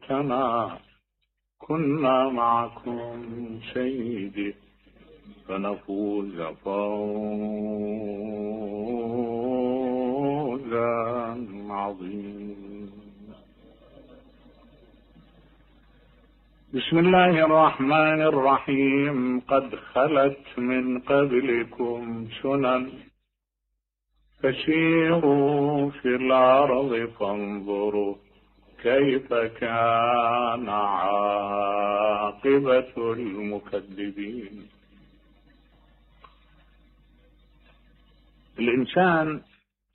ليتنا كنا معكم سيدي فنفوز فوزا عظيما. بسم الله الرحمن الرحيم. قد خلت من قبلكم سنن فسيروا في الأرض فانظروا كيف كان عاقبة المكذبين. الإنسان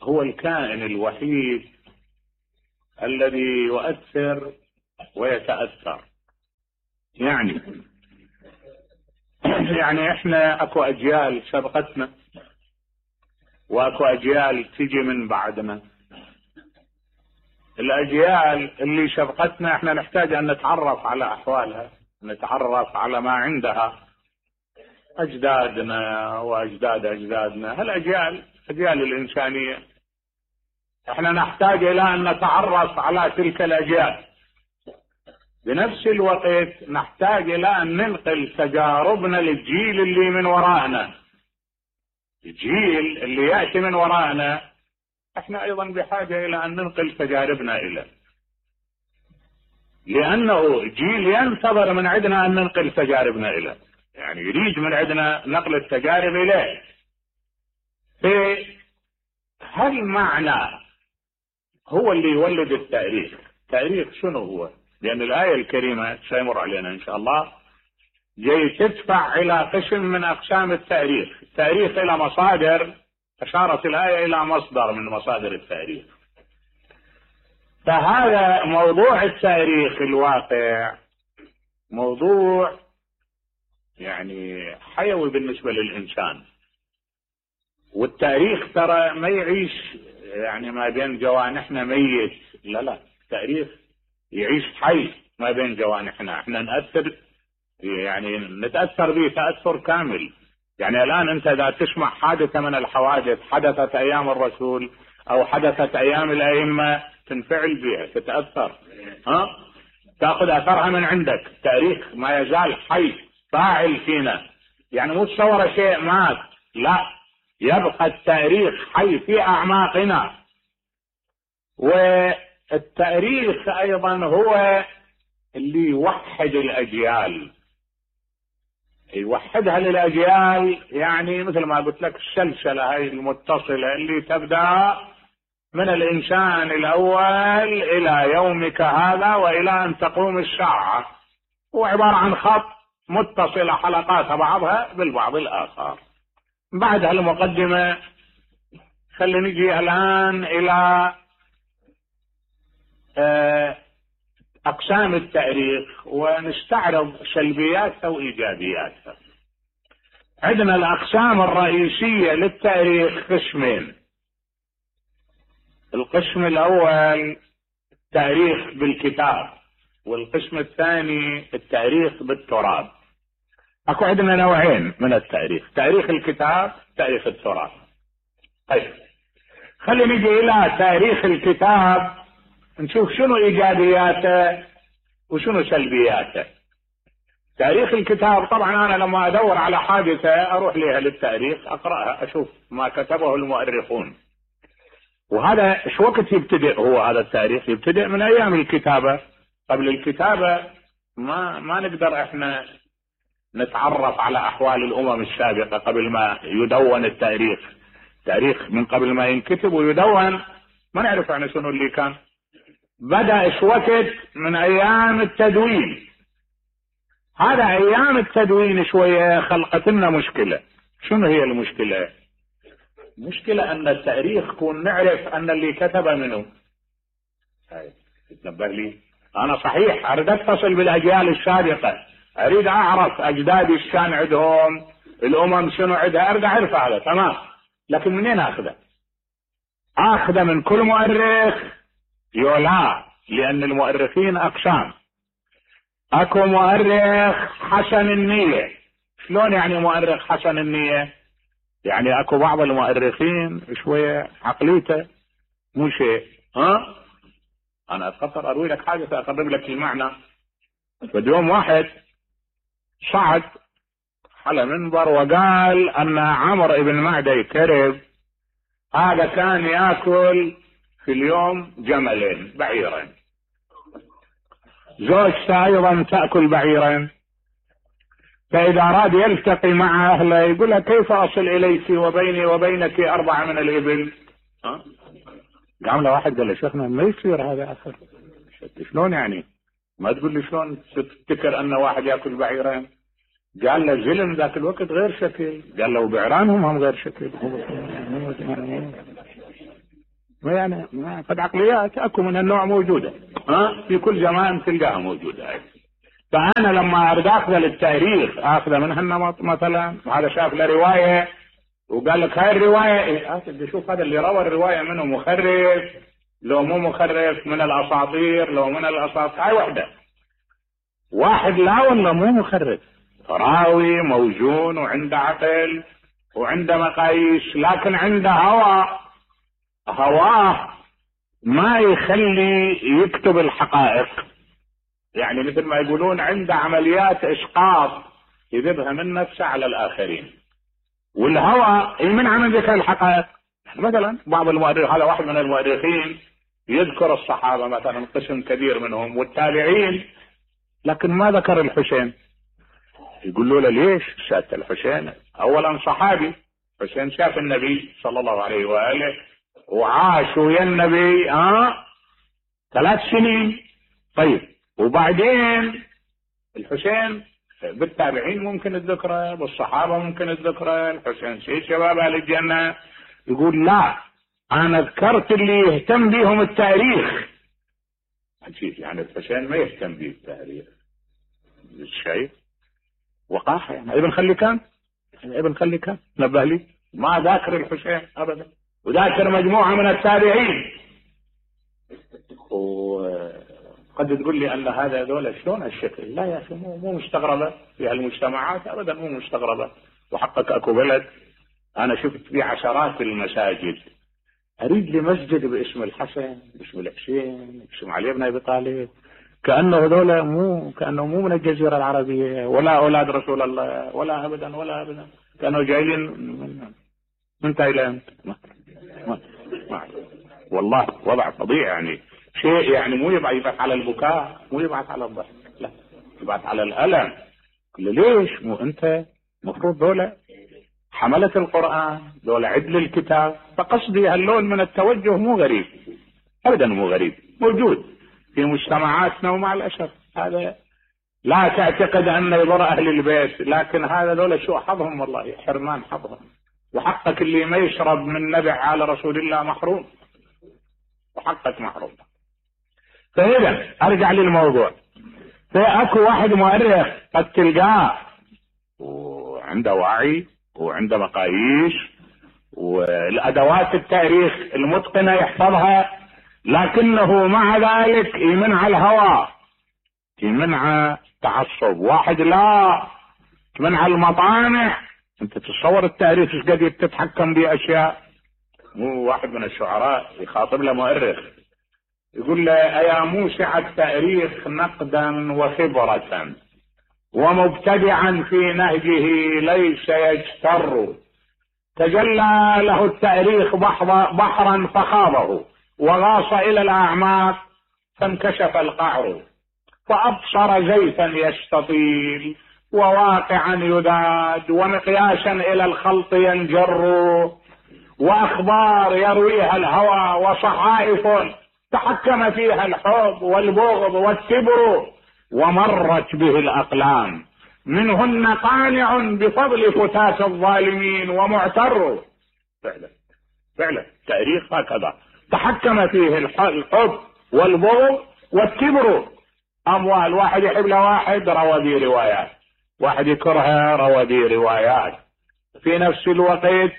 هو الكائن الوحيد الذي يؤثر ويتأثر. يعني احنا اكو اجيال سبقتنا واكو اجيال تجي من بعدنا. الاجيال اللي سبقتنا احنا نحتاج ان نتعرف على احوالها، نتعرف على ما عندها اجدادنا واجداد اجدادنا. هالاجيال اجيال الانسانية احنا نحتاج الى ان نتعرف على تلك الاجيال. بنفس الوقت نحتاج الى ان ننقل تجاربنا للجيل اللي من وراءنا. الجيل اللي يأتي من وراءنا احنا ايضا بحاجة الى ان ننقل تجاربنا اليه، لانه جيل ينتظر من عندنا ان ننقل تجاربنا اليه، يعني يريد من عندنا نقل التجارب اليه. هل معنى هو اللي يولد التاريخ؟ التاريخ شنو هو؟ لأن الآية الكريمة سيمر علينا إن شاء الله جاي تدفع إلى قسم من أقسام التاريخ. التاريخ إلى مصادر، أشارت الآية إلى مصدر من مصادر التاريخ. فهذا موضوع التاريخ الواقع موضوع يعني حيوي بالنسبة للإنسان. والتاريخ ترى ما يعيش يعني ما بين جوانحنا ميت، لا، التاريخ يعيش حي ما بين جوانحنا. احنا نأثر، يعني نتأثر به تأثر كامل. يعني الآن انت اذا تسمع حادثة من الحوادث حدثت ايام الرسول او حدثت ايام الائمة تنفعل بها، تتأثر، تأخذ اثرها من عندك. التاريخ ما يزال حي فاعل فينا، يعني مو تصور شيء مات، لا، يبقى التاريخ حي في اعماقنا. والتاريخ ايضا هو اللي يوحد الاجيال، يوحدها للاجيال. يعني مثل ما قلت لك السلسله هاي المتصله اللي تبدا من الانسان الاول الى يومك هذا والى ان تقوم الساعه، هو عباره عن خط متصله حلقاتها بعضها بالبعض الاخر. بعد هالمقدمه خلينا نجي الان الى أقسام التاريخ ونستعرض سلبياتها وإيجابياتها. عندنا الأقسام الرئيسية للتاريخ قسمين. القسم الأول التاريخ بالكتاب، والقسم الثاني التاريخ بالتراث. أكو عندنا نوعين من التاريخ، تاريخ الكتاب، تاريخ التراث. طيب خلينا نجي إلى تاريخ الكتاب نشوف شنو إيجابياته وشنو سلبياته. تاريخ الكتاب طبعا أنا لما أدور على حادثة أروح لها للتاريخ أقرأها أشوف ما كتبه المؤرخون. وهذا شو وقت يبتدئ هو هذا التاريخ؟ يبتدئ من أيام الكتابة. قبل الكتابة ما نقدر إحنا نتعرف على أحوال الأمم السابقة قبل ما يدون التاريخ. تاريخ من قبل ما ينكتب ويدون ما نعرف عن شنو اللي كان. بدأ وقت من أيام التدوين. هذا أيام التدوين شوية خلقت لنا مشكلة. شنو هي المشكلة؟ مشكلة أن التاريخ كون نعرف أن اللي كتب منه. هاي تنبه لي أنا صحيح أريد أتصل بالأجيال السابقة، أريد أعرف أجدادي إيش كان عندهم، الأمم شنو عندها، أريد أعرف هذا تمام. لكن منين أخذه؟ أخذه من كل مؤرخ؟ لا، لأن المؤرخين أقسام. أكو مؤرخ حسن النية. شلون يعني مؤرخ حسن النية؟ يعني أكو بعض المؤرخين شوية عقليته مو شيء، انا اتخطر اروي لك حاجه اقرب لك المعنى. فاليوم واحد صعد على منبر وقال ان عمرو بن معدي كرب هذا كان ياكل في اليوم جملين بعيرين، زوجته ايضا تاكل بعيرين، فاذا اراد يلتقي مع اهله يقول لها كيف اصل اليك وبيني وبينك 4 من الابل؟ قام له واحد قال له شيخنا ما يصير هذا اخر. شلون يعني؟ ما تقول لي شلون تفتكر ان واحد ياكل بعيرين؟ قال له زلم ذاك الوقت غير شكل. قال له بعيرانهم هم غير شكل. يعني قد عقليات اكو من النوع موجوده، في كل زمان تلقاها موجوده. فانا لما اريد اخذ للتاريخ اخذ من هالنمط مثلا، هذا شاف له روايه وقال لك هاي الروايه شوف هذا اللي روى الروايه منه مخرف لو مو مخرف، من الاساطير لو من الاساطير، هاي وحده. واحد لا والله مو مخرف، راوي موزون وعنده عقل وعنده مقاييس، لكن عنده هواه ما يخلي يكتب الحقائق. يعني مثل ما يقولون عنده عمليات اسقاط يذبها من نفسه على الاخرين، والهوى يمنع من ذكر الحقائق. مثلا بعض المؤرخين، هذا واحد من المؤرخين يذكر الصحابه مثلا قسم كبير منهم والتابعين، لكن ما ذكر الحسين. يقولوا له ليش؟ سادة الحسين اولا صحابي، حسين شاف النبي صلى الله عليه واله وعاش ويا النبي 3 سنين. طيب وبعدين الحسين بالتابعين ممكن الذكرى، بالصحابه ممكن الذكرى، الحسين سيد شباب اهل الجنه. يقول لا انا ذكرت اللي يهتم بهم التاريخ. عجيب، يعني الحسين ما يهتم به التاريخ. شيء وقاحه. يعني ابن خليكان، ابن خليكان نبه لي ما ذاكر الحسين ابدا، وذاكر مجموعه من التابعين. وقد تقول لي ان هذا دولة شلون الشكل؟ لا يا اخي مو مستغربه في هالمجتمعات ابدا، مو مستغربه. وحقك اكو بلد انا شفت فيه عشرات المساجد، اريد لي مسجد باسم الحسن، باسم الحسين، باسم علي بن ابي طالب، كانه هذول كانه مو من الجزيره العربيه ولا اولاد رسول الله ولا ابدا ولا ابدا، كانوا جايين من تايلاند. والله وضع فظيع. يعني شيء يعني مو يبعث على البكاء، مو يبعث على الضحك، لا يبعث على الالم. ليش؟ مو انت مفروض دولة حملة القرآن، دولة عدل الكتاب. فقصدي هاللون من التوجه مو غريب ابدا، مو غريب، موجود في مجتمعاتنا ومع الاسف. هذا لا تعتقد انه يضر اهل البيت، لكن هذا دولة شو حظهم، والله حرمان حظهم. وحقك اللي ما يشرب من نبع على رسول الله محروم، وحقك محروم. فإذا ارجع للموضوع. فاكو واحد مؤرخ قد تلقاه وعنده وعي وعنده مقاييس والادوات التاريخ المتقنه يحفظها، لكنه مع ذلك يمنع الهوى، يمنع تعصب. واحد لا يمنع المطامع. انت تتصور التاريخ ايش قد تتحكم باشياء. مو واحد من الشعراء يخاطب له مؤرخ يقول له ايا موسع التاريخ نقدا وخبرة ومبتدعا في نهجه ليس يجتر، تجلى له التاريخ بحرا فخاضه وغاص الى الاعماق فانكشف القعر، فابصر زيتا يستطيل وواقعا يذاد ومقياسا الى الخلط ينجر، واخبار يرويها الهوى وصحائف تحكم فيها الحب والبغض والكبر، ومرت به الاقلام منهن قانع بفضل فتاة الظالمين ومعتر. فعلا تاريخ هكذا تحكم فيه الحب والبغض والكبر. اموال واحد يحب له واحد روى به روايات، واحد يكرهه روى به روايات، في نفس الوقت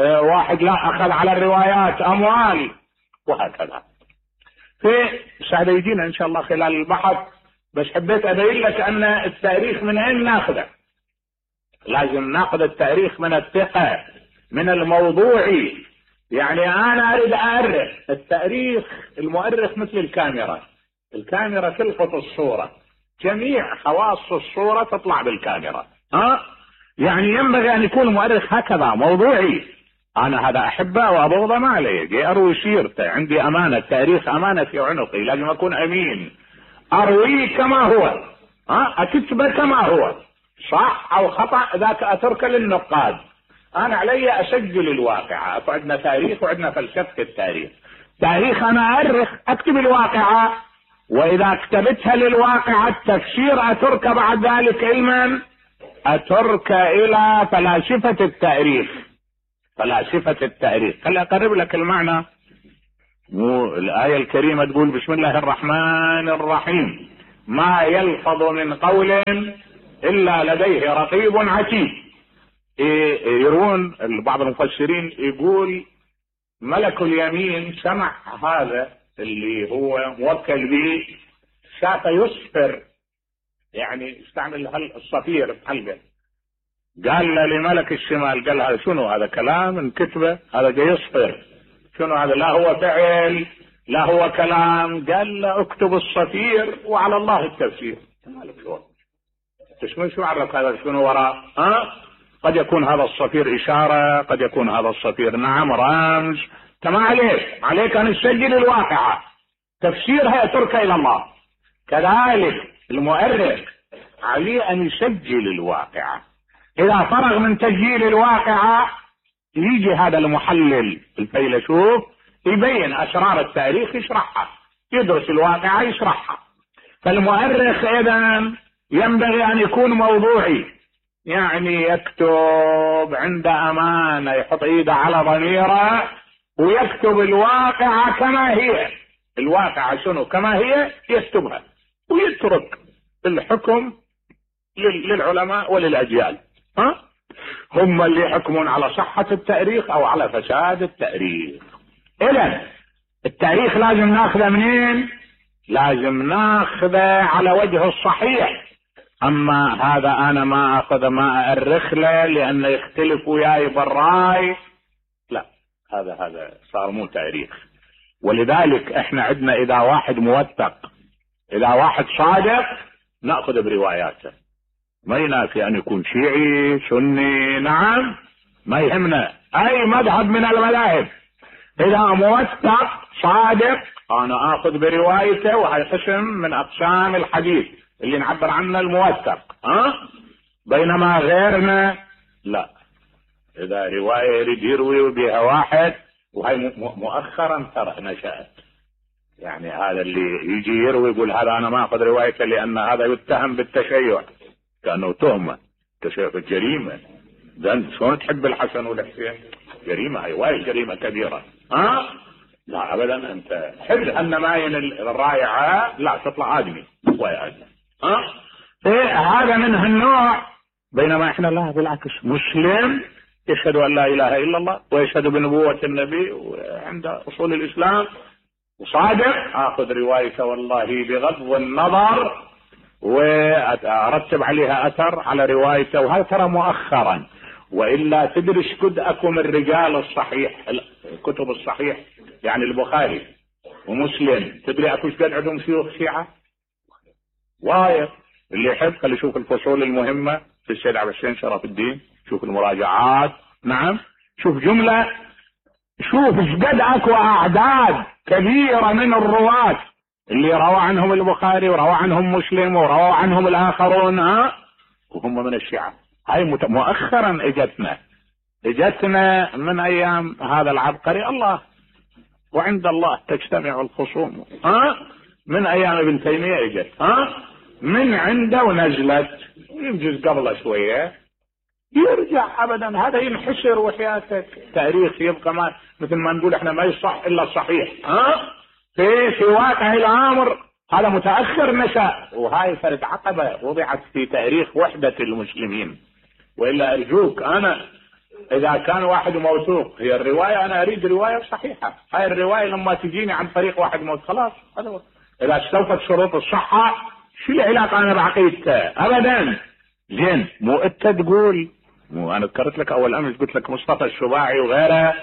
واحد لا اخذ على الروايات اموال، وهكذا. هذا يجينا ان شاء الله خلال البحث، بس حبيت ابين لك ان التاريخ من اين ناخذه. لازم ناخذ التاريخ من الثقة، من الموضوعي، يعني انا اريد اؤرخ التاريخ. المؤرخ مثل الكاميرا، الكاميرا تلقط الصورة، جميع خواص الصورة تطلع بالكاميرا. يعني ينبغي ان يكون المؤرخ هكذا موضوعي. انا هذا احبه وابغضه ما علي، اروي سيرته، عندي امانة، التاريخ امانة في عنقي، لازم اكون امين، ارويه كما هو، اكتبه كما هو، صح او خطأ ذاك اتركه للنقاد. انا علي اسجل الواقعة. عندنا تاريخ وعندنا فلسفة التاريخ. تاريخ انا اؤرخ، اكتب الواقعة، واذا كتبتها للواقعة التفسير اترك بعد ذلك علما، اترك الى فلاسفة التاريخ. فلاسفة التاريخ. خلي اقرب لك المعنى. الآية الكريمة تقول بسم الله الرحمن الرحيم: ما يلفظ من قول إلا لديه رقيب عتيد. يرون بعض المفسرين يقول ملك اليمين سمع هذا اللي هو موكل به، شاف يصفر، يعني استعمل الصفير بحلقه، قال لملك الشمال، قال هذا شنو؟ هذا كلام انكتبه، هذا جاي يصفر، شنو هذا؟ لا هو فعل لا هو كلام. قال له اكتب الصفير وعلى الله التفسير. مالك شو عرف هذا شنو وراء؟ قد يكون هذا الصفير اشارة، قد يكون هذا الصفير نعم رمز. كما عليك ان تسجل الواقعة، تفسيرها يترك الى الله. كذلك المؤرخ عليه ان يسجل الواقعة. اذا فرغ من تسجيل الواقعة يجي هذا المحلل الفيلسوف يبين اسرار التاريخ، يشرحها، يدرس الواقعة يشرحها. فالمؤرخ اذا ينبغي ان يكون موضوعي، يعني يكتب عند امانة، يحط ايده على ضميره ويكتب الواقعة كما هي. الواقعة شنو كما هي يكتبها، ويترك الحكم للعلماء وللأجيال. هم اللي يحكمون على صحة التاريخ او على فساد التاريخ. اذا التاريخ لازم ناخذه منين؟ لازم ناخذه على وجه الصحيح. اما هذا انا ما اخذ ما اؤرخ له لانه يختلف وياي بالراي، لا، هذا صار مو تاريخ. ولذلك احنا عندنا اذا واحد موثق، اذا واحد صادق، ناخذ برواياته. ما ينافي ان يكون شيعي سني، نعم، ما يهمنا اي مذهب من المذاهب. اذا موثق صادق انا اخذ بروايته، وهي قسم من اقسام الحديث اللي نعبر عنه الموثق. بينما غيرنا لا، اذا رواية يريد يروي بها واحد، وهي مؤخرا ترى نشأت، يعني هذا اللي يجي يروي يقول هذا انا ما اخذ روايته لان هذا يتهم بالتشيع، كانه تهمة تشيع الجريمة. ذن شلون تحب الحسن والحسين؟ جريمة، هي وايد جريمة كبيرة. لا ابدا، انت حب ان ماين الرائعة، لا تطلع ادمي ويا ادمي. هذا من هالنوع. بينما احنا لا، بالعكس، مسلم يشهد ان لا اله الا الله ويشهد بنبوة النبي وعند اصول الاسلام وصادق، اخذ روايته والله بغض النظر، وارتب عليها اثر على روايته. وهذا ترى مؤخرا، والا تدري قد اكو من الرجال الصحيح، الكتب الصحيح، يعني البخاري ومسلم، تدري اكو قد عندهم شيوخ شيعة وايد. اللي يحب خلي يشوف الفصول المهمة في السيد عبد الحسين شرف الدين، شوف المراجعات، نعم، شوف جملة، شوف قد اكو اعداد كبيرة من الرواة اللي روى عنهم البخاري وروى عنهم مسلم وروى عنهم الاخرون، وهم من الشيعة. هاي مؤخرا اجتنا من ايام هذا العبقري الله، وعند الله تجتمع الخصوم. من ايام ابن تيمية اجت، من عنده ونزلت، يمجز قبله شوية يرجع. ابدا هذا ينحسر وحياتك. تاريخ يبقى ما مثل ما نقول احنا ما يصح الا الصحيح. في واقع الامر هذا متاخر نشأ، وهاي فرد عقبة وضعت في تاريخ وحدة المسلمين. والا ارجوك، انا اذا كان واحد موثوق هي الرواية، انا اريد رواية صحيحة. هاي الرواية لما تجيني عن طريق واحد موثوق خلاص، هذا اذا استوفت شروط الصحة شو العلاقة انا بعقيدته؟ ابدا. زين، مو انت تقول، مو انا ذكرت لك اول امس قلت لك مصطفى السباعي وغيره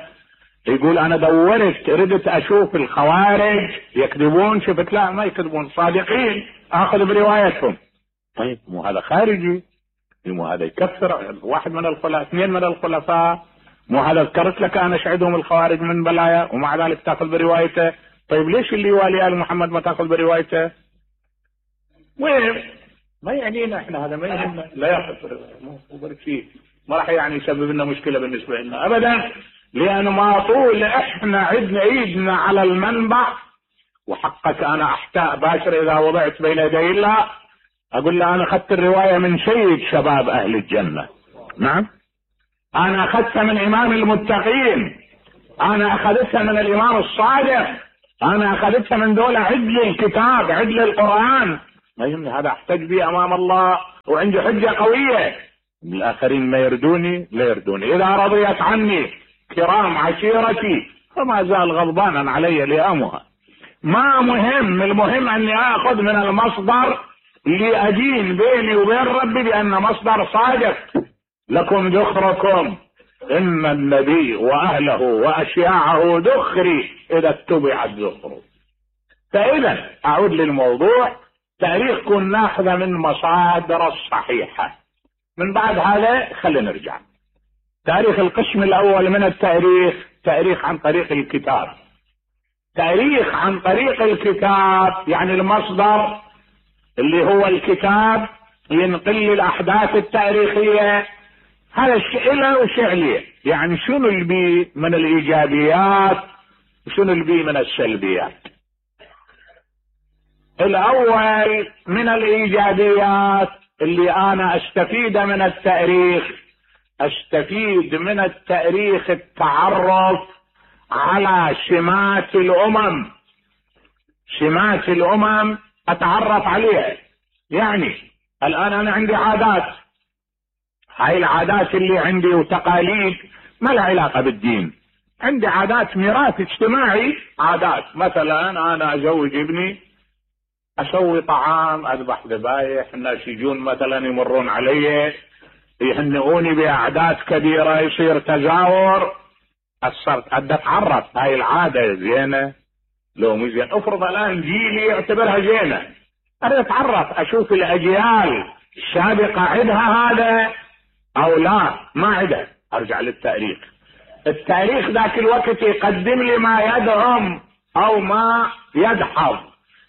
يقول انا دورت ردت اشوف الخوارج يكذبون، شفت لا ما يكذبون صادقين، اخذ بروايتهم. طيب مو هذا خارجي، مو هذا يكفر واحد من الخلفاء، اثنين من الخلفاء، مو هذا ذكرت لك انا اشهدهم الخوارج من بلايا ومع ذلك تاخذ بروايته. طيب ليش اللي يوالي ال محمد ما تاخذ بروايته؟ وين ما يعنينا احنا، هذا ما يهمنا، لا ياخذ بروايته، ما راح يعني يسبب لنا مشكله بالنسبه لنا ابدا، لان ما طول احنا عدنا ايدنا على المنبع. وحقك انا احتاء باشر اذا وضعت بين يدي الله اقول له انا اخذت الروايه من سيد شباب اهل الجنه، نعم انا اخذتها من امام المتقين، انا اخذتها من الامام الصادق، انا اخذتها من دولة عدل الكتاب عدل القرآن. ما يهمني هذا احتج به امام الله وعندي حجة قوية، الاخرين ما يردوني لا يردوني، اذا رضيت عني كرام عشيرتي فما زال غضبانا علي لئامها. ما مهم، المهم اني اخذ من المصدر اللي ادين بيني وبين ربي بان مصدر صادق. لكم ذخركم ان النبي واهله واشياعه ذخري اذا اتبعت ذخره. فاذا اعود للموضوع، تاريخ كن ناخذه من مصادر الصحيحة. من بعد هذا خلينا نرجع تاريخ. القسم الاول من التاريخ تاريخ عن طريق الكتاب. تاريخ عن طريق الكتاب يعني المصدر اللي هو الكتاب ينقل لي الاحداث التاريخية. هذا الشيء له وشيء عليه، يعني شنو اللي بيه من الايجابيات وشنو اللي بيه من السلبيات. الاول من الايجابيات اللي انا استفيد من التاريخ، استفيد من التاريخ التعرف على سمات الامم. سمات الامم اتعرف عليها. يعني الان انا عندي عادات، هاي العادات اللي عندي وتقاليد ما لها علاقة بالدين، عندي عادات ميراث اجتماعي. عادات مثلا انا ازوج ابني، اسوي طعام، اذبح ذبايح، الناس يجون مثلا يمرون علي يهنئوني باعداد كبيرة، يصير تزاور. صرت اتعرف هاي العادة زينة لو مش زين. افرض الان جيلي يعتبرها زينة، انا اتعرف اشوف الاجيال السابقة عندها هذا او لا ما عندها، ارجع للتاريخ. التاريخ ذاك الوقت يقدم لي ما يدعم او ما يدحض.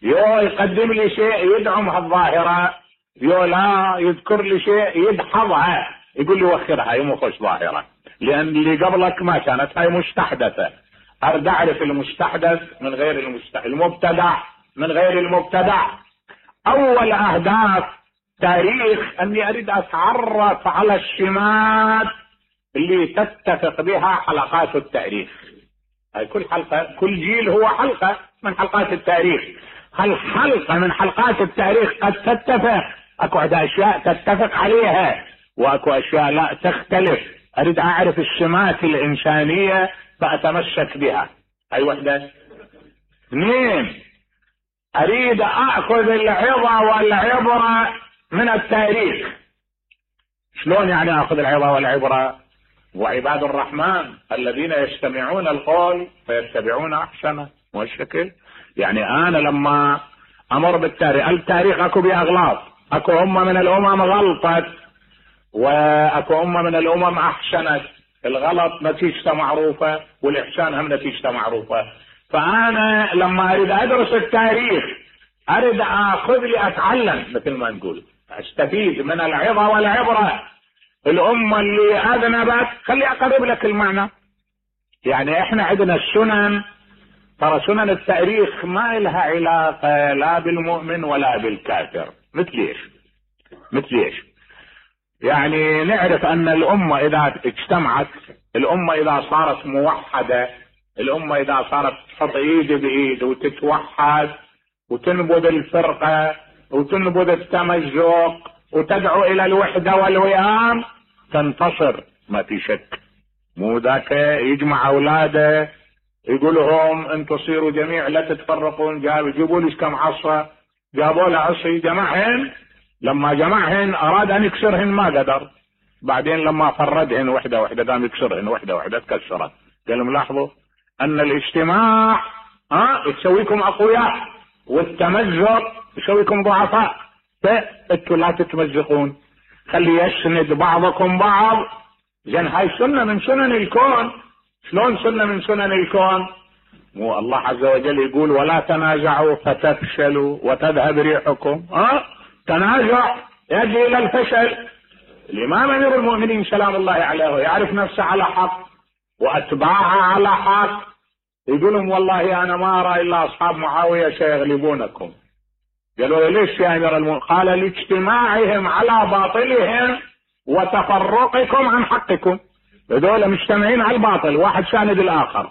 يو يقدم لي شيء يدعم هالظاهرة، يو لا يذكر لي شيء يدحضها، يقول لي وخرها هي مو خوش ظاهرة، لان اللي قبلك ما كانت هاي مستحدثة. ارد اعرف المستحدث من غير المبتدع من غير المبتدع. اول اهداف تاريخ اني اريد اتعرف على السمات اللي تتفق بها حلقات التاريخ. هاي كل حلقة، كل جيل هو حلقة من حلقات التاريخ. هالحلقة من حلقات التاريخ قد تتفق، اكو اشياء تتفق عليها واكو اشياء لا تختلف. اريد اعرف السمات الانسانية فاتمسك بها. هاي وحدة. اثنين، اريد اخذ العظة والعبرة من التاريخ. شلون يعني اخذ العظة والعبرة؟ وعباد الرحمن الذين يستمعون القول فيتبعون احسنه. مو الشكل؟ يعني انا لما امر بالتاريخ، التاريخ اكو بيه اغلاط، اكو امة من الامم غلطت واكو امة من الامم احسنت. الغلط نتيجته معروفة والاحسان هم نتيجته معروفة. فانا لما اريد ادرس التاريخ اريد اخذ لي اتعلم، مثل ما نقول استفيد من العظة والعبرة. الامة اللي اذنبت، خلي اقرب لك المعنى. يعني احنا عندنا السنن، ترى سنن التاريخ ما لها علاقة لا بالمؤمن ولا بالكافر. مثل ايش؟ يعني نعرف ان الامة اذا اجتمعت، الامة اذا صارت موحدة، الامة اذا صارت تحط ايد بايد وتتوحد وتنبذ الفرقة وتنبذ التمزق وتدعو الى الوحدة والوئام تنتصر، ما في شك. مو ذاك يجمع اولاده يقول لهم انتم صيروا جميع لا تتفرقون، جيبوا لي كم عصا، جابوا له عصي جمعهن، لما جمعهن اراد ان يكسرهن ما قدر، بعدين لما فردهن وحده وحده قام يكسرهن وحده وحده تكسرت. قال لهم لاحظوا ان الاجتماع يسويكم اقوياء، والتمزق يسويكم ضعفاء. فانتوا لا تتمزقون، خلي يسند بعضكم بعض. زين هاي سنة من سنن الكون. شلون سنة من سنن الكون؟ مو الله عز وجل يقول ولا تنازعوا فتفشلوا وتذهب ريحكم؟ تنازع يؤدي الى الفشل. الامام امير المؤمنين سلام الله عليه يعرف نفسه على حق واتباعه على حق، يقول لهم والله انا ما ارى الا اصحاب معاويه سيغلبونكم. قالوا ليش يا امير المؤمنين؟ قال لاجتماعهم على باطلهم وتفرقكم عن حقكم. هذول مجتمعين على الباطل، واحد ساند الاخر،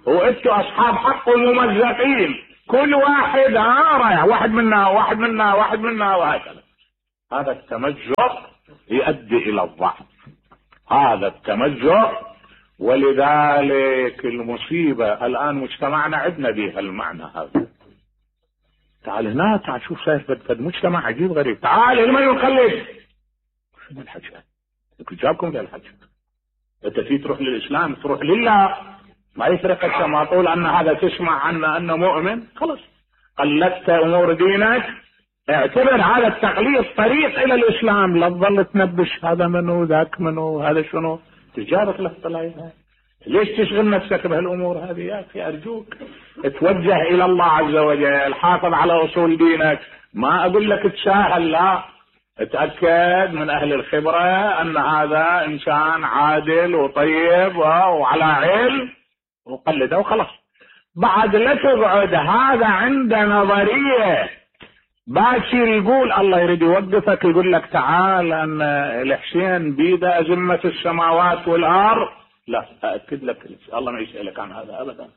وانتوا اصحاب حق وممزقين، كل واحد رايح، واحد منا واحد منا واحد منا وهكذا. هذا التمزق يؤدي الى الضعف، هذا التمزق. ولذلك المصيبة الان مجتمعنا عدنا بها المعنى هذا. تعال هنا، تعال شوف صاير فد مجتمع عجيب غريب. تعال لمن يقلد؟ شنو الحكي؟ جابكم للحكي. انت في تروح للاسلام، تروح لله، ما يفرق. ما طول ان هذا تسمع عنه انه مؤمن، خلص قلدت امور دينك، اعتبر هذا التقليد طريق الى الاسلام، لا تظل تنبش هذا منو ذاك منو هذا شنو. تجارك له طلعها. ليش تشغل نفسك بهالامور هذه يا اخي؟ ارجوك اتوجه الى الله عز وجل، حافظ على اصول دينك. ما اقول لك تساهل، لا، اتاكد من اهل الخبره ان هذا انسان عادل وطيب وعلى علم، وقلده وخلاص. بعد لا تقعد هذا عند نظريه باكر يقول الله يريد يوقفك، يقول لك تعال ان الحسين بيده ازمه السماوات والارض. لا، ااكد لك الله ما يسالك عن هذا ابدا.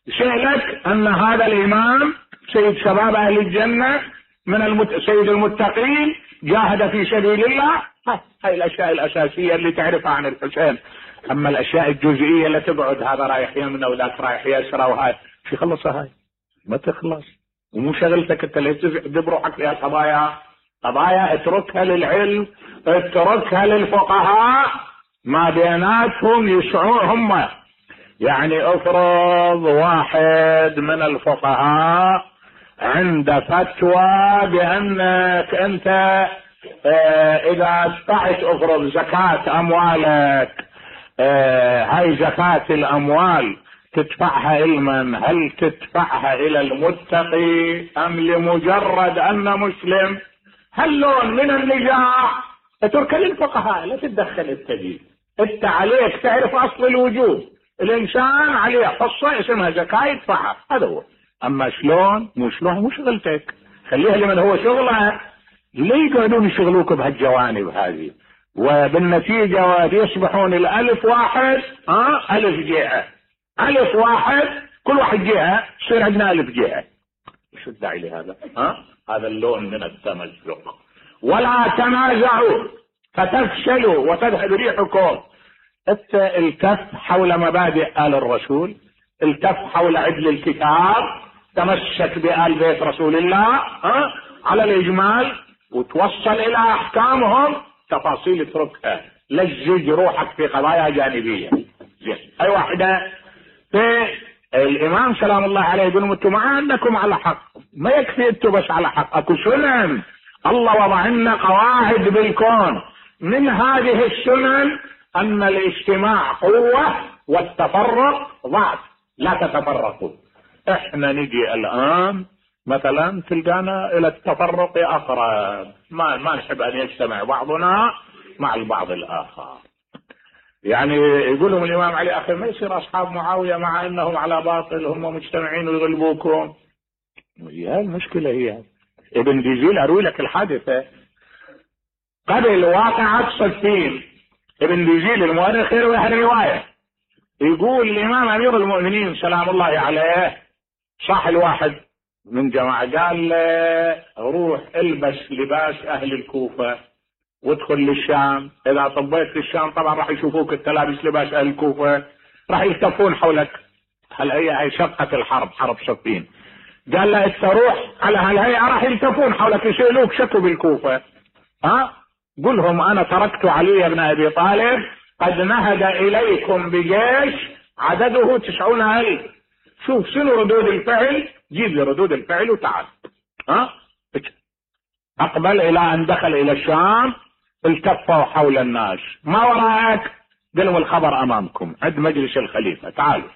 يسالك ان هذا الامام سيد شباب اهل الجنه من سيد المتقين، جاهد في سبيل الله. هاي الاشياء الاساسيه اللي تعرفها عن الحسين. اما الاشياء الجزئيه اللي تقعد هذا رايح يمنى وذاك رايح يسرى وهاي شو خلصها، هاي ما تخلص. ومو شغلتك انت اللي تذب روحك فيها قضايا اتركها للعلم، اتركها للفقهاء، ما بيناتهم يسعون هم. يعني افرض واحد من الفقهاء عند فتوى بانك انت اذا ادفعت افرض زكاة اموالك، هاي زكاة الاموال تدفعها لمن؟ هل تدفعها الى المتقي ام لمجرد ان مسلم؟ هاللون من النزاع اترك للفقهاء، لا تتدخل التدين. انت عليك تعرف اصل الوجوب، الانسان عليه حصة اسمها زكاة يدفعها، هذا هو. اما شلون مو شلون مو شغلتك، خليها لمن هو شغله. ليه يقعدون يشغلوك بهالجوانب هذه؟ وبالنتيجة يصبحون الالف واحد الف جهة، الف واحد كل واحد جهة، يصير عندنا الف جهة. شو الداعي لهذا؟ هذا اللون من التمزق. ولا تنازعوا فتفشلوا وتذهب ريحكم. التف حول مبادئ آل الرسول، التف حول عدل الكتاب، تمسك بآل بيت رسول الله على الإجمال، وتوصل إلى أحكامهم. تفاصيل اتركها، لزج روحك في قضايا جانبية. أي واحدة. في الإمام سلام الله عليه يقول انتم ما عندكم على حق، ما يكفي انتم بس على حق، اكو سنن الله وضع لنا قواعد بالكون. من هذه السنن ان الاجتماع قوة والتفرق ضعف، لا تتفرقوا. احنا نجي الان مثلا تلقانا الى التفرق اقرب، ما نحب ان يجتمع بعضنا مع البعض الاخر. يعني يقولهم الامام علي اخي ما يصير اصحاب معاوية مع انهم على باطل هم مجتمعين ويغلبوكم. هي المشكلة. هي ابن ديزيل اروي لك الحادثة قبل واقعة صفين. ابن ديزيل المؤرخ يروي هالرواية، يقول الامام امير المؤمنين سلام الله عليه صح الواحد من جماعة قال له روح البس لباس اهل الكوفة وادخل للشام، اذا طبيت للشام طبعا راح يشوفوك انت لابس لباس اهل الكوفة، راح يلتفون حولك. هي شقة الحرب، حرب صفين. قال له انت روح على هالهيئة راح يلتفون حولك يسألوك شكو بالكوفة، قلهم انا تركت علي بن ابي طالب قد نهد اليكم بجيش عدده 90,000، شوف شنو ردود الفعل، جيب لي ردود الفعل وتعال. اقبل الى ان دخل الى الشام، التفوا حول الناس، ما وراءك؟ قالوا الخبر امامكم عند مجلس الخليفة، تعالوا.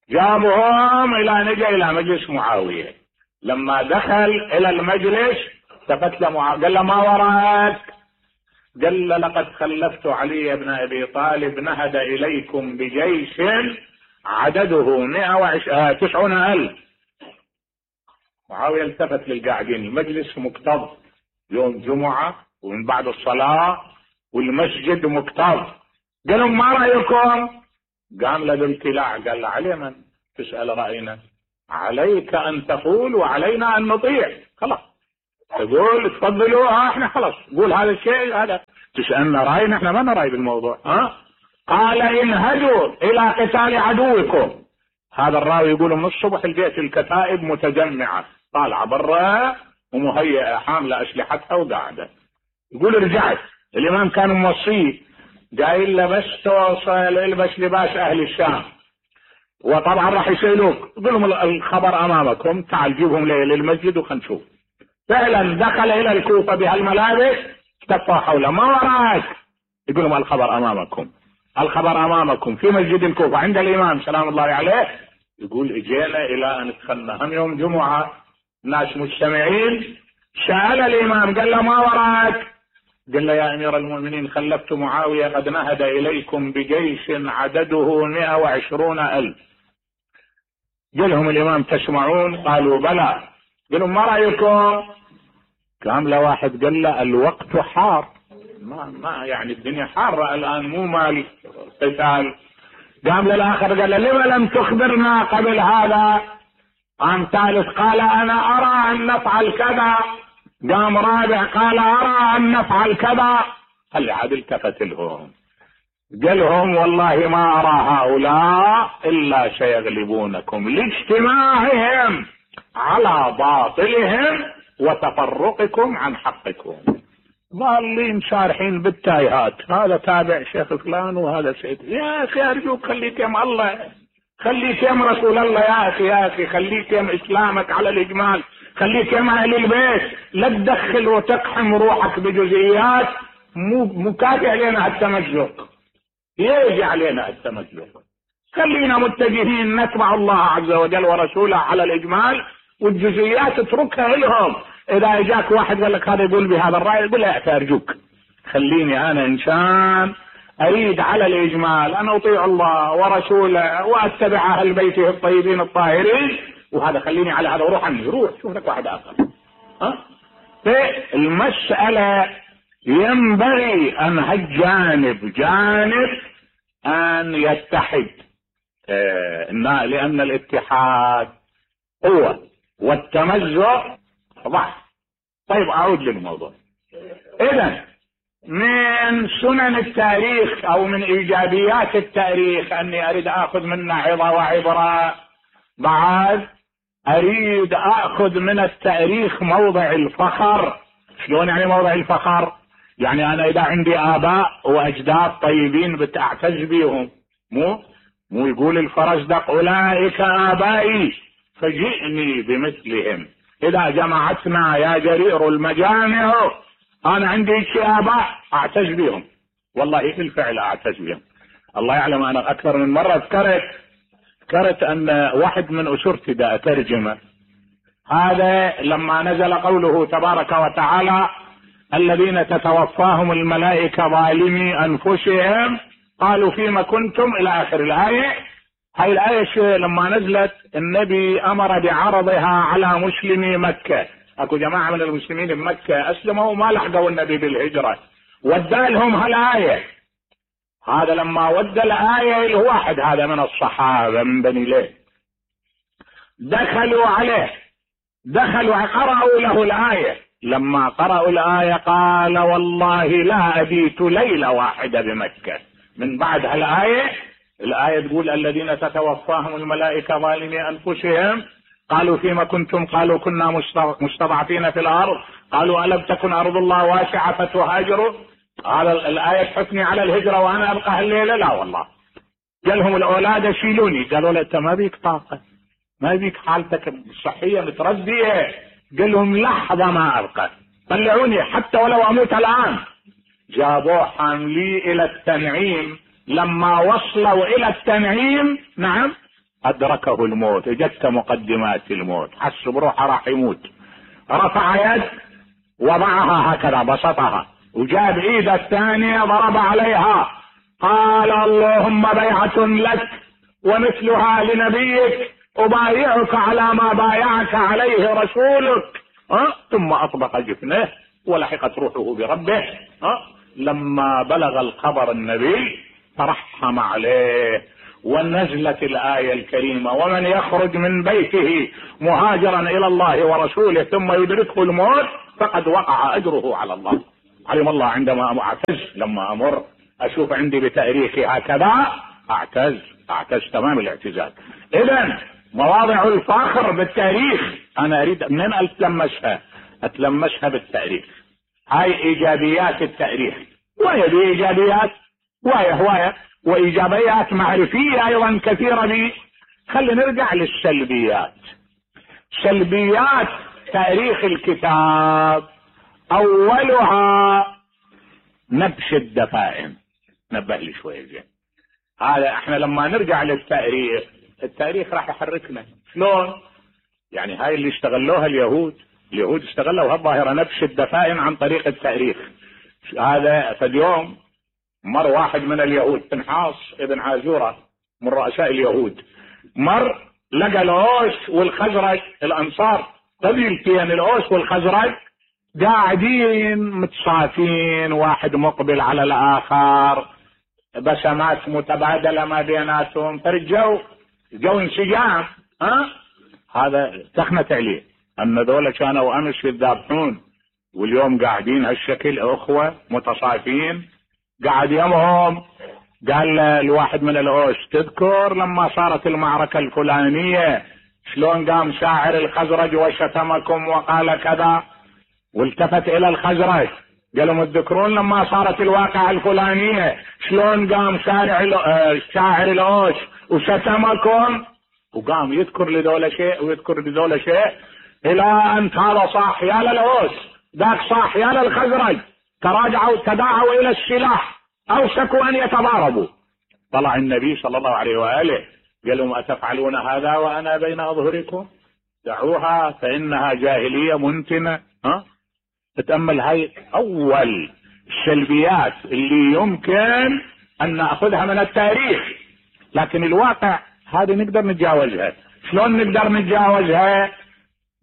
جابهم الى نجا الى مجلس معاوية. لما دخل الى المجلس التفت لمعاوية قال له ما وراءك؟ قال له لقد خلفت علي بن ابي طالب نهد اليكم بجيش عدده 190,000. معاوية التفت للقاعدين، المجلس مكتظ، يوم جمعة ومن بعد الصلاة والمسجد مكتظ. قالوا ما رأيكم؟ قام له الابتلاع، قال له علي من تسأل رأينا؟ عليك أن تقول وعلينا أن نطيع. خلاص تقول تفضلوا، احنا خلاص قول هذا الشيء، هذا تسألنا رأينا، احنا ما نرأي بالموضوع. قال انهدوا إلى قتال عدوكم. هذا الراوي يقول من الصبح لقيت الكتائب متجمعة طالعة برا ومهيئة حاملة أسلحتها وقاعدة. يقول رجعت الإمام كان موصيه قايل له بس توصل البس لباس أهل الشام، وطبعا راح يسألوك، يقول لهم الخبر أمامكم، تعال جيبهم للمسجد وخلنا نشوف. فعلا دخل إلى الكوفة بهالملابس، تفوا حوله، ما وراك؟ يقول لهم الخبر أمامكم، الخبر أمامكم في مسجد الكوفة عند الإمام سلام الله عليه. يقول اجينا إلى أن دخلنا هم يوم جمعة ناس مجتمعين، سأل الإمام قال له ما وراك؟ قال له يا أمير المؤمنين خلفت معاوية قد نهد إليكم بجيش عدده 120,000. قال لهم الإمام تسمعون؟ قالوا بلى. قالوا ما رأيكم؟ قام له واحد قال له الوقت حار، ما يعني الدنيا حارة الآن، مو مال قتال. قام للآخر قال له لما لم تخبرنا قبل هذا؟ قام ثالث قال أنا أرى أن نفعل كذا. قام رابع قال أرى أن نفعل كذا. خلي عاد التفت لهم قال لهم والله ما أرى هؤلاء إلا سيغلبونكم لاجتماعهم على باطلهم وتفرقكم عن حقكم. ضالين شارحين بالتايهات، هذا تابع شيخ فلان وهذا سيد. يا أخي أرجوك خليك يم الله، خليك يم رسول الله، يا أخي خليك يم إسلامك على الإجمال، خليك يم أهل البيت، لا تدخل وتقحم روحك بجزئيات. مو كافي علينا التمزق، يجي علينا التمزق. خلينا متجهين نتبع الله عز وجل ورسوله على الإجمال، والجزئيات اتركها لهم. إذا اجاك واحد قال لك هذا يقول بهذا الرأي، يقول لا أرجوك خليني أنا إنسان أريد على الإجمال أن أطيع الله ورسوله وأتبع أهل بيته الطيبين الطاهرين، وهذا خليني على هذا وروح عني، روح شوف لك واحد آخر. فالمسألة ينبغي أن هالجانب جانب أن يتحد، لأن الاتحاد قوة والتمزق ضعف. طيب أعود للموضوع. إذن من سنن التاريخ أو من إيجابيات التاريخ أني أريد أخذ منه عظة وعبرة. بعد أريد أخذ من التاريخ موضع الفخر. شلون يعني موضع الفخر؟ يعني أنا إذا عندي آباء وأجداد طيبين بتعتز بيهم، مو يقول الفرزدق أولئك آبائي فجئني بمثلهم. إذا جمعتنا يا جرير المجامع، أنا عندي شيء آباء أعتز بهم، والله بالفعل أعتز بهم. الله يعلم أنا أكثر من مرة ذكرت أن واحد من أسرتي دا أترجمه، هذا لما نزل قوله تبارك وتعالى الذين تتوفاهم الملائكة ظالمي أنفسهم قالوا فيما كنتم إلى آخر الآية. هاي الآية لما نزلت النبي أمر بعرضها على مسلمي مكة. أكو جماعة من المسلمين بمكة أسلموا وما لحقوا النبي بالهجرة، ودالهم هالآية. هذا لما ودى الآية الواحد هذا من الصحابة من بني ليه، دخلوا عليه، قرأوا له الآية. لما قرأوا الآية قال والله لا أبيت ليلة واحدة بمكة. من بعد الآية تقول الذين تتوفاهم الملائكة ظالمي أنفسهم قالوا فيما كنتم قالوا كنا مستضعفين في الأرض قالوا ألم تكن أرض الله واسعة فتهاجروا. هذا الآية تحثني على الهجرة وأنا أبقى الليلة؟ لا والله. قالهم الأولاد شيلوني، قالوا لا أنت ما بيك طاقة، ما يبيك حالتك الصحية متردية. قال لهم لحظة ما أبقى، طلعوني حتى ولو أموت الآن. جابوه حاملي إلى التنعيم. لما وصلوا إلى التنعيم نعم أدركه الموت، اجت مقدمات الموت، حس بروحه راح يموت. رفع يد وضعها هكذا بسطها، وجاب ايده الثانية ضرب عليها، قال اللهم بيعة لك ومثلها لنبيك، أبايعك على ما بايعك عليه رسولك. ثم أطبق جفنه ولحقت روحه بربه. لما بلغ الخبر النبي ترحم عليه، ونزلت الآية الكريمة: ومن يخرج من بيته مهاجرا إلى الله ورسوله ثم يدركه الموت فقد وقع أجره على الله. علم الله عندما أعتز، لما أمر أشوف عندي بتاريخي هكذا أعتز تمام الاعتزاز. إذن مواضع الفخر بالتاريخ أنا أريد منين أتلمسها بالتاريخ. هاي إيجابيات التاريخ، وهي بإيجابيات وهي وإيجابيات معرفية أيضا كثيرة بي. خلينا نرجع للسلبيات. سلبيات تاريخ الكتاب أولها نبش الدفائن. نبه لي شوية زين. هذا احنا لما نرجع للتاريخ، التاريخ راح يحركنا. شلون؟ يعني هاي اللي اشتغلوها اليهود اشتغلوا هالظاهرة نبش الدفائن عن طريق التاريخ. هذا فاليوم مر واحد من اليهود، بنحاص ابن عازورة من رؤساء اليهود، مر لقى الأوس والخزرج، الأنصار قبيلتين الأوس والخزرج قاعدين متصافين، واحد مقبل على الآخر، بسمات متبادلة ما بيناتهم، فرجوا انسجام. هذا تخنت عليه أن ذولا كانوا أمس يذابحون واليوم قاعدين هالشكل أخوة متصافين. قاعد يمهم قال الواحد من الأوس: تذكر لما صارت المعركة الفلانية شلون قام شاعر الخزرج وشتمكم وقال كذا؟ والتفت إلى الخزرج قال لهم: تذكرون لما صارت الواقعة الفلانية شلون قام شاعر الأوس وشتمكم؟ وقام يذكر لذولا شيء ويذكر لذولا شيء، إلى أن هذا صاح يا للأوس، ذاك صاح يا للخزرج، تداعوا إلى السلاح، أوشكوا أن يتضاربوا. طلع النبي صلى الله عليه وآله قال لهم: أتفعلون هذا وأنا بين أظهركم؟ دعوها فإنها جاهلية منتنة. تتأمل هاي أول السلبيات اللي يمكن أن نأخذها من التاريخ، لكن الواقع هذه نقدر نتجاوزها. شلون نقدر نتجاوزها؟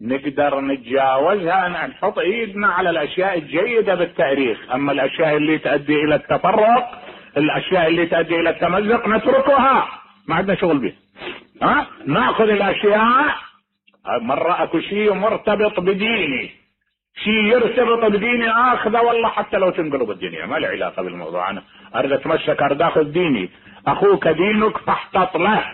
نقدر نتجاوزها أن نحط إيدنا على الأشياء الجيدة بالتاريخ. أما الأشياء اللي تؤدي إلى التفرق، الأشياء اللي تؤدي إلى التمزق نتركها، ما عندنا شغل بها. نأخذ الأشياء. مرة أكو شيء مرتبط بديني، شيء يرتبط بديني آخذه، والله حتى لو تنقلب الدنيا ما له علاقة بالموضوع. أنا أريد أتمسك، أريد أخذ ديني. أخوك دينك فاحتط له.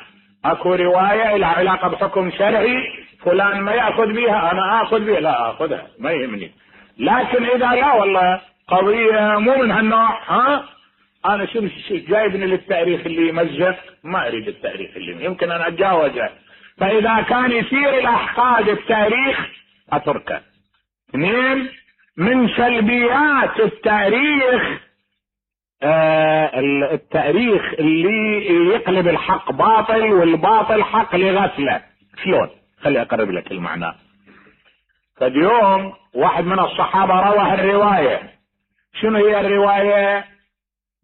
أكو رواية لها علاقة بحكم شرعي، فلان ما يأخذ بها أنا أخذ بها، لا أخذها ما يهمني. لكن إذا لا والله قضية مو من هالنوع، أنا شو جايبني للتاريخ اللي يمزق؟ ما أريد التاريخ اللي يمكن أن أتجاوزه. فإذا كان يصير الأحقاد التاريخ أتركه. اثنين من سلبيات التاريخ، التاريخ اللي يقلب الحق باطل والباطل حق لغفلة. شلون؟ خلي أقرب لك المعنى. فاليوم واحد من الصحابة روى الرواية. شنو هي الرواية؟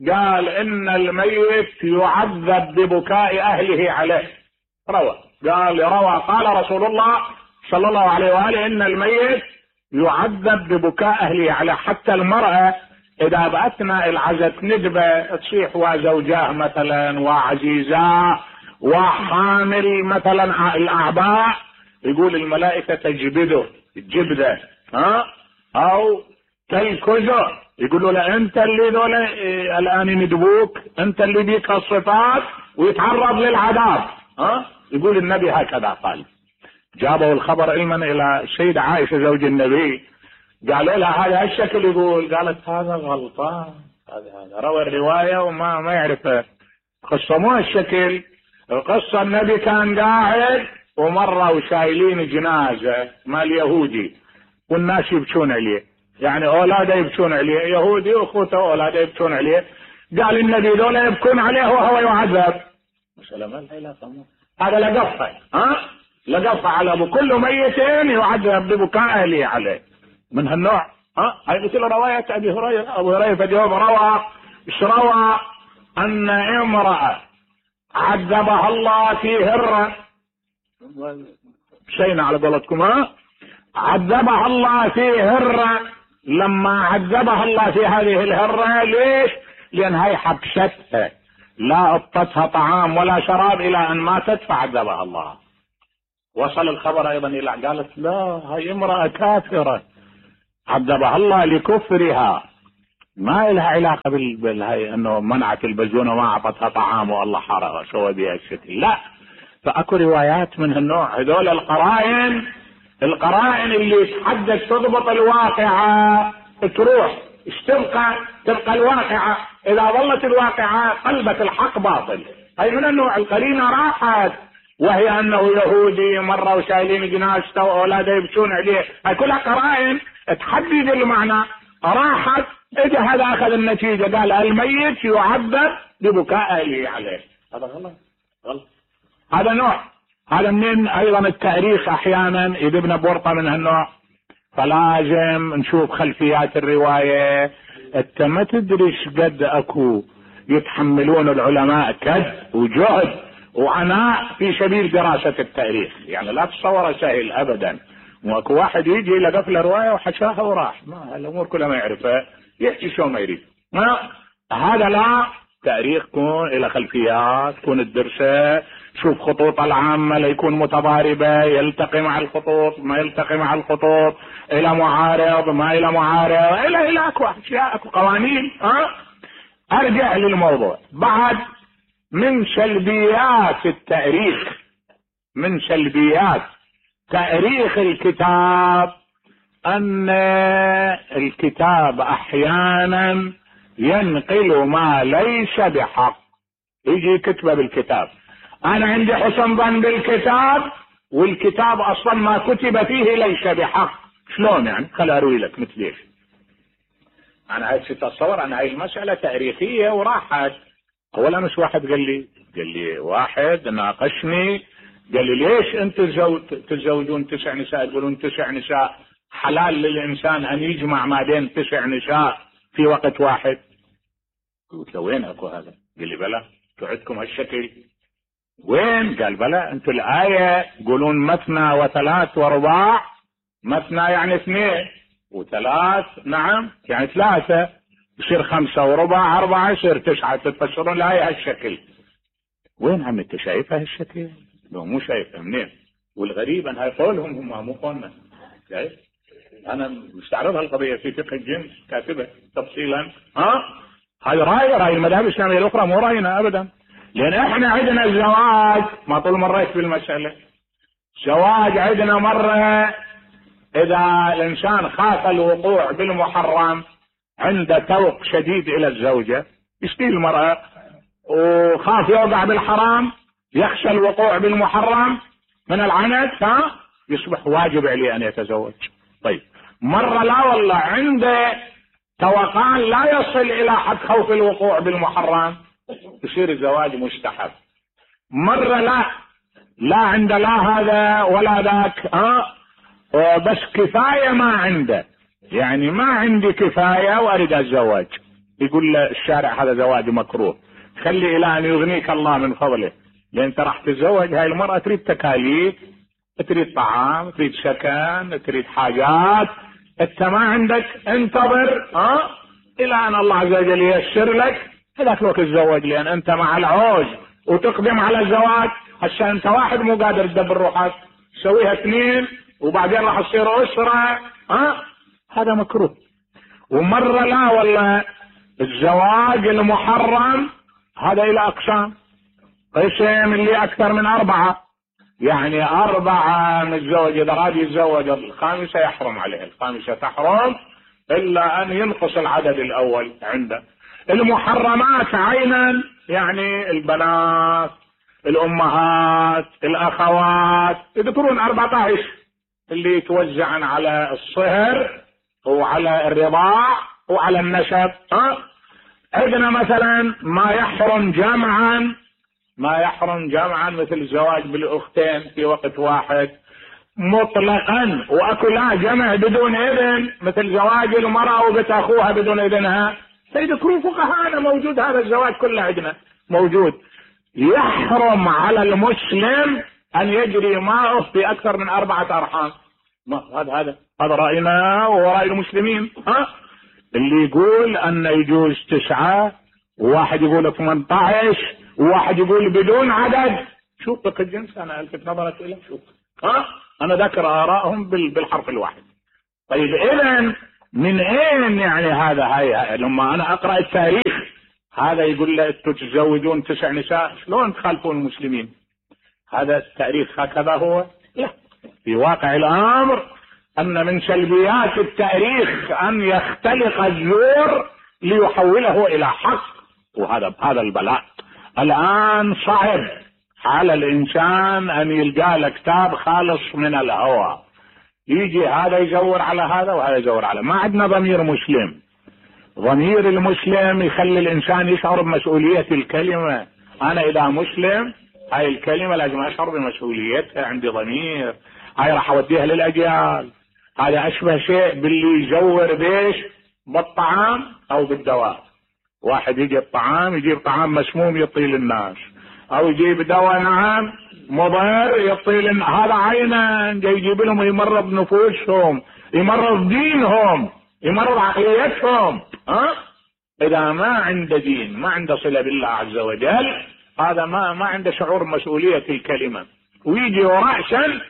قال إن الميت يعذب ببكاء أهله عليه. قال رسول الله صلى الله عليه وآله إن الميت يعذب ببكاء أهله عليه. حتى المرأة إذا بأثناء العزة ندبة تصيح وزوجاه مثلا وعزيزاه وحامل مثلا الأعباء، يقول الملائكة تجبده الجبدة أو تلكزه، يقولوا له أنت اللي دولة الآن يندبوك، أنت اللي بيك الصفات ويتعرض للعذاب. يقول النبي هكذا قال. جابوا الخبر علما إلى السيدة عائشة زوج النبي، قالوا لها هذا الشكل يقول، قالت هذا غلطان، هذا روى الرواية وما يعرف قصة مو الشكل. القصة النبي كان قاعد ومرة وشايلين جنازة مال يهودي والناس يبكون عليه، يعني اولاده يبكون عليه، يهودي واخوته اولاده يبكون عليه. قال النبي ذولا يبكون عليه وهو يعذب. مسألة ما لها علاقة، هذا لقفه على ابو كل ميت يعذب ببكاء اهله عليه من هالنوع. هاي مثل رواية ابي هريرة. ابو هريرة في اليوم روى ان امرأة عذبها الله في هرة، شينا على قولتكم، عذبها الله في هرة. لما عذبها الله في هذه الهرة، ليش؟ لان هي حبستها، لا اعطتها طعام ولا شراب الى ان ماتت فعذبها الله. وصل الخبر ايضا الى قالت لا، هي امرأة كافرة عذبها الله لكفرها، ما لها علاقة بالهي انه منعت البزونة وما اعطتها طعام والله حرقها سوى بها الشكل، لا. فاكو روايات من هالنوع. هذول القرائن اللي تحدث تضبط الواقعة تروح تبقى الواقعة. اذا ظلت الواقعة قلبت الحق باطل. هاي من النوع. القرينة راحت وهي انه يهودي مرة وشايلين جنازته واولاده يبكون عليه، هاي كلها قرائن تحدد المعنى. راحت، اجى هذا اخذ النتيجة، قال الميت يعذب ببكاء اهله عليه. هذا غلط. هذا نوع. هذا من ايضا التاريخ احيانا يذبنا بورطة من هالنوع. فلازم نشوف خلفيات الرواية. انت ما تدري قد اكو يتحملون العلماء كد وجهد وعناء في سبيل دراسة التاريخ، يعني لا تصور سهل ابدا. واكو واحد يجي لقف له رواية وحشاها وراح، ما الامور كلها ما يعرفها، يحكي شو ما يريد. هذا لا. تاريخ كون الى خلفيات، كون الدرسة، شوف خطوط العامة ليكون متضاربة، يلتقي مع الخطوط ما يلتقي مع الخطوط، الى معارض ما الى معارض، الى اكو اشياء، اكو قوانين. ارجع للموضوع. بعد من سلبيات التاريخ، من سلبيات تاريخ الكتاب، ان الكتاب احيانا ينقل ما ليس بحق. يجي كتبه بالكتاب، انا عندي حسن ظن بالكتاب والكتاب اصلا ما كتب فيه ليس بحق. شلون يعني؟ خل اروي لك مثل ايش. انا عايز تتصور، انا هاي المسألة تاريخية وراحت. اولا مش واحد قال لي واحد ناقشني قال لي ليش انتم تتزوجون 9 نساء؟ تقولون 9 نساء حلال للانسان ان يجمع ما بين 9 نساء في وقت واحد؟ قلت له وين اكو هذا؟ قال لي بلى، انتم عندكم هالشكل. وين؟ قال بلى، انتم الآية يقولون مثنى وثلاث ورباع. مثنى يعني 2 وثلاث نعم يعني 3، يصير 5 وربع 4، يصير 9. تفسرون الآية هالشكل. وين عم انت شايفها هالشكل؟ لو مو شايفها منين؟ والغريب ان هاي قولهم هم مو قولنا. شايف؟ انا مستعرض هالقضية في فقه الجنس كاتبة تفصيلا. هاي رأي المذاهب الإسلامية الأخرى، مو رأينا أبدا. لأن احنا عندنا الزواج، ما طول مريت بالمسألة، زواج عندنا مرة إذا الإنسان خاف الوقوع بالمحرم، عنده توق شديد إلى الزوجة، يشتي المرأة وخاف يوقع بالحرام، يخشى الوقوع بالمحرم من العنت، يصبح واجب عليه أن يتزوج. طيب مرة لا والله عنده توقان لا يصل إلى حد خوف الوقوع بالمحرم، يصير الزواج مستحب. مرة لا عنده لا هذا ولا ذاك، بس كفاية ما عنده، يعني ما عندي كفاية وأريد أتزوج، يقول له الشارع هذا زواج مكروه، خلي إلى أن يغنيك الله من فضله، لأن أنت راح تتزوج هاي المرأة تريد تكاليف، تريد طعام، تريد سكن، تريد حاجات، انت ما عندك، انتظر الى ان الله عز وجل ييسر لك هذاك الوقت تتزوج، لان انت مع العوز وتقدم على الزواج. هسه انت واحد مو قادر تدبر روحك، تسويها 2 وبعدين راح تصير اسرة، هذا مكروه. ومرة لا والله الزواج المحرم هذا الى اقسام، قسم اللي اكثر من 4، يعني 4 متزوج، اذا راد يتزوج الخامسة يحرم عليه، الخامسة تحرم الا ان ينقص العدد الاول عنده. المحرمات عينا يعني البنات، الامهات، الاخوات، يذكرون 14 اللي يتوزعن على الصهر وعلى الرضاع وعلى النسب. عندنا مثلا ما يحرم جمعا مثل الزواج بالاختين في وقت واحد مطلقا، واكو لا جمع بدون اذن مثل زواج المرأة وبنت اخوها بدون اذنها. سيذكرون فقهاءنا موجود هذا الزواج كله عندنا موجود. يحرم على المسلم ان يجري ماءه في اكثر من 4 ارحام. هذا راينا وراي المسلمين. اللي يقول ان يجوز 9، وواحد يقول 18، وواحد يقول بدون عدد. شوف فقه الجنس انا الفت نظرك اليه. شوف انا ذكر ارائهم بالحرف الواحد. طيب اذا من اين يعني هاي لما انا اقرا التاريخ هذا يقول له انتم تتزوجون 9 نساء، شلون تخالفون المسلمين؟ هذا التاريخ هكذا هو؟ لا، في واقع الامر ان من سلبيات التاريخ ان يختلق الزور ليحوله الى حق، وهذا البلاء. الان صعب على الانسان ان يلقى له كتاب خالص من الهوى، يجي هذا يزور على هذا وهذا يزور على. ما عندنا ضمير مسلم. ضمير المسلم يخلي الانسان يشعر بمسؤولية الكلمة. انا اذا مسلم هاي الكلمة لازم اشعر بمسؤوليتها، عندي ضمير، هاي راح اوديها للاجيال. هذا اشبه شيء باللي يزور بيش بالطعام او بالدواء. واحد يجيب طعام مسموم يعطيه للناس، او يجيب دواء نعم مضر يعطيه هذا عينا يجيب لهم يمرض نفوسهم، يمرض دينهم، يمرض عقليتهم. اذا ما عنده دين، ما عنده صلة بالله عز وجل، هذا ما عنده شعور مسؤولية الكلمة، ويجي رأسا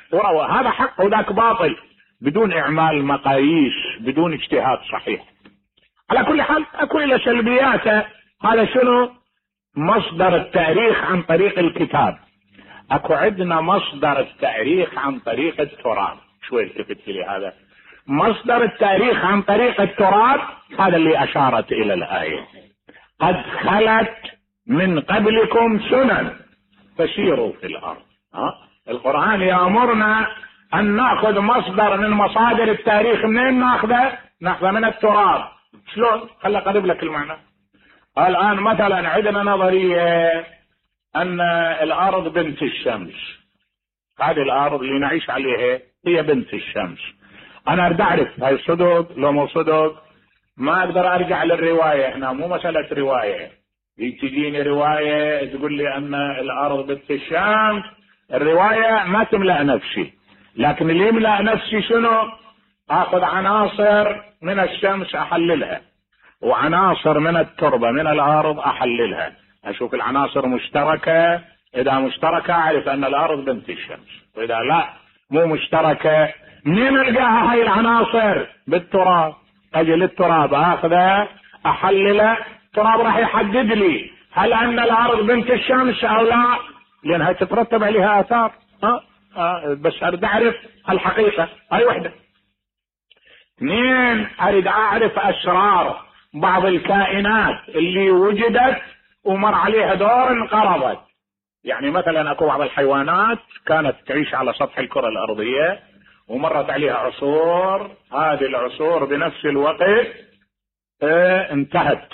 هذا حق وذاك باطل بدون اعمال مقاييس، بدون اجتهاد صحيح. على كل حال اكو الى سلبياته. هذا شنو؟ مصدر التاريخ عن طريق الكتاب. اكو عندنا مصدر التاريخ عن طريق التراث. شوي التفت لي هذا مصدر التاريخ عن طريق التراث. هذا اللي اشارت الى الايه: قد خلت من قبلكم سنن فسيروا في الارض. القرآن يأمرنا ان ناخذ مصدر من مصادر التاريخ. منين ناخذه من التراث. شلون؟ خلي اقرب لك المعنى. الان مثلا عندنا نظرية ان الارض بنت الشمس. هذه الارض اللي نعيش عليها هي بنت الشمس. انا اريد اعرف هاي صدق لو مو صدق. ما اقدر ارجع للرواية هنا، مو مسألة رواية. تجيني رواية تقول لي ان الارض بنت الشمس، الرواية ما تملأ نفسي. لكن اللي يملأ نفسي شنو؟ اخذ عناصر من الشمس احللها، وعناصر من التربة من الارض احللها، اشوف العناصر مشتركة. اذا مشتركة اعرف ان الارض بنت الشمس، واذا لا مو مشتركة منين القاها هاي العناصر؟ بالتراب. اجي للتراب اخذه احلله، التراب راح يحدد لي هل ان الارض بنت الشمس او لا، لانها تترتب عليها اثار. بس اريد اعرف الحقيقة. هاي وحدة. 2 اريد اعرف اسرار بعض الكائنات اللي وجدت ومر عليها دور انقرضت. يعني مثلا اكو بعض الحيوانات كانت تعيش على سطح الكرة الارضية ومرت عليها عصور، هذه العصور بنفس الوقت انتهت.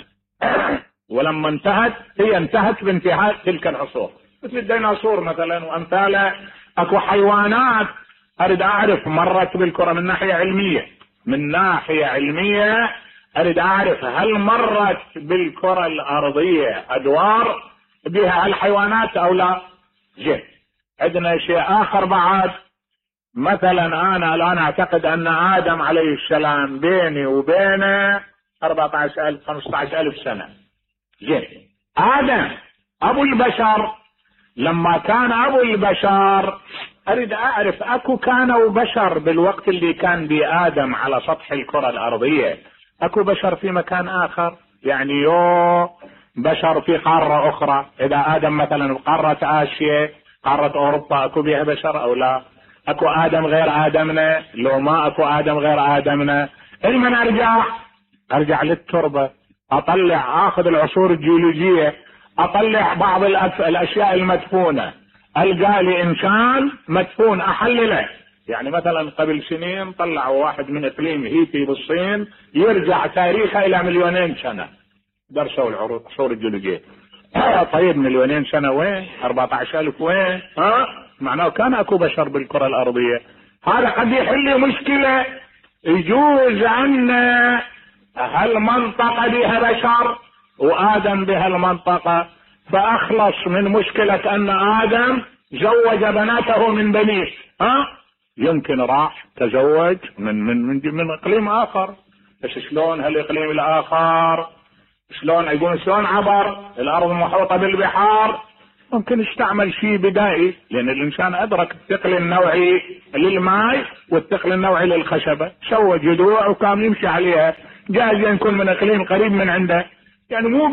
ولما انتهت هي انتهت بانتهاء تلك العصور، مثل الديناصور مثلا وامثاله. اكو حيوانات اريد اعرف مرت بالكرة من ناحية علمية. من ناحية علمية اريد اعرف هل مرت بالكرة الارضية ادوار بها الحيوانات او لا. زين. عندنا شيء اخر بعد. مثلا انا الان اعتقد ان ادم عليه السلام بيني وبينه 14,000 15,000 سنة. زين. ادم ابو البشر، لما كان ابو البشر اريد اعرف اكو كانوا بشر بالوقت اللي كان بآدم على سطح الكرة الارضية، اكو بشر في مكان اخر؟ يعني بشر في قارة اخرى. اذا ادم مثلا بقارة اسيا، قارة اوروبا، اكو بها بشر او لا؟ اكو ادم غير ادمنا؟ لو ما اكو ادم غير ادمنا، لمن ارجع للتربة، اطلع اخذ العصور الجيولوجية، اطلع بعض الاشياء المدفونة، القى لي انسان مدفون احلله. يعني مثلا قبل سنين طلعوا واحد من اقليم هيتي بالصين يرجع تاريخه الى 2,000,000 سنة، درسوا العصور الجيولوجية. طيب 2,000,000 سنة وين؟ 14,000 وين؟ معناه كان اكو بشر بالكرة الارضية. هذا قد يحل لي مشكلة. يجوز ان هالمنطقة بها بشر وادم بها المنطقة، فاخلص من مشكلة ان ادم زوج بناته من بنيه. يمكن راح تزوج من اقليم اخر، بس شلون هالاقليم الاخر؟ شلون عبر الارض المحوطة بالبحار؟ ممكن استعمل شيء بدائي، لان الانسان ادرك الثقل النوعي للماء والثقل النوعي للخشبة، سوى جذوع وكان يمشي عليها، جايز يكون من اقليم قريب من عنده، يعني مو